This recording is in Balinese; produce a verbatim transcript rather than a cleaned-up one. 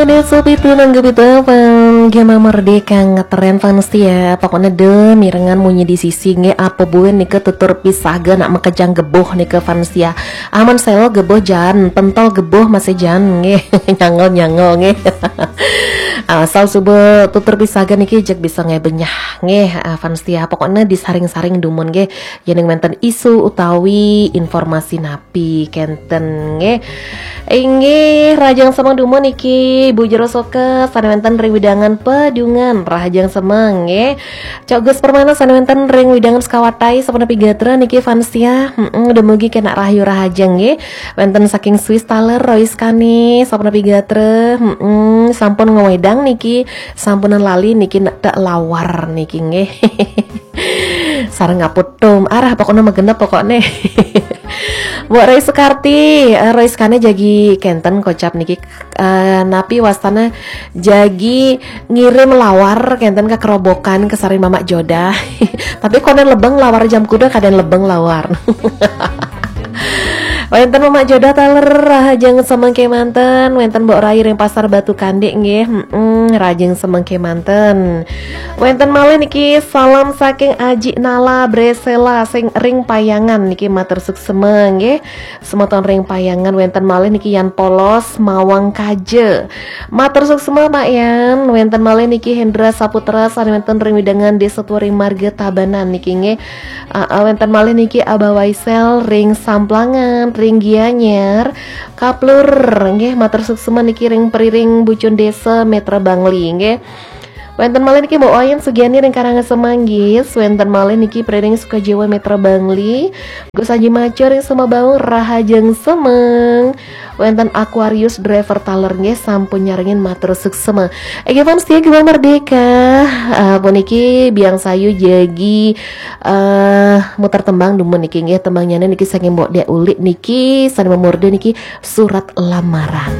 Ada sopi tunang gebitu apa? Gema Merdeka ngetren fans ya. Pokoknya deh mirengan munyi di sisi nge apa buen nih ke tutur pisah ge nak mekejang geboh nih ke fans ya. Aman selo geboh jan, pentol geboh masih jan nge. Nyangol nyangol nge. Asal subuh tutur pisah ge niki jek bisa nge benyah nge, ah, fans ya. Pokoknya disaring-saring dumun nge. Yening menten isu utawi informasi napi kenten nge. Inggih, rahajeng semeng dumun niki, Bu Jero Soka, sane wenten ring wewidangan Pedungan, rahajeng semeng nggih. Cok Gus Permana sane wenten ring wewidangan Sekawatai, sapunapi gatra niki fans ya. Heeh, dumugi kenak rahayu rahajeng nggih. Wenten saking Swiss taler, Rois Kani, sapunapi gatra. Heeh, sampun ngewedang niki, sampunan lali niki nek tak lawar niki nggih. Sareng ngaputum, arah pokoknya magenep pokoknya. Mbok Roy Sukarti, eh, Roy Sukane jagi kenten kocap niki, eh, napi wastana jagi ngirim lawar kenten ke kerobokan ke saring Mamak Joda. Tapi konen lebeng lawar jam kuda kaden lebeng lawar. Wenten Mamak Joda taler rahajeng semeng kemanten, wenten Mbok Rai ring Pasar Batu Kandek nggih. Heeh, rahajeng semeng kemanten. Wenten malih niki salam saking Aji Nala Bresela sing ring Payangan niki matur suksema nggih. Semeton ring Payangan wenten malih niki Yan Polos Mawang Kaja. Matur suksema Pak Yan, wenten malih niki Hendra Saputra sane wenten ring wewidangan Desa Turing Marga Tabanan niki nggih. Aa, wenten malih niki Abah Waisel ring Samplangan, ring Gianyar, Kaplur nggih matur suksema niki ring Periring Bucun Desa Metra Bangli nggih. Wenten malih niki Mbok Wayan Sugiani ring Karangasem Manggis, wenten malih niki Periring Sukajiwa Metra Bangli, Gus Aji Maco ring Semabaung rahajeng semeng. Wenten Aquarius driver taler nggih sampun nyarengin matur suksema. Ege fans setia Gema Merdeka. Eh, puniki Biang Sayu jagi eh muter tembang dumun niki nggih, tembangnya niki saking Mbok Dek Ulik niki sane mamurda niki surat lamaran.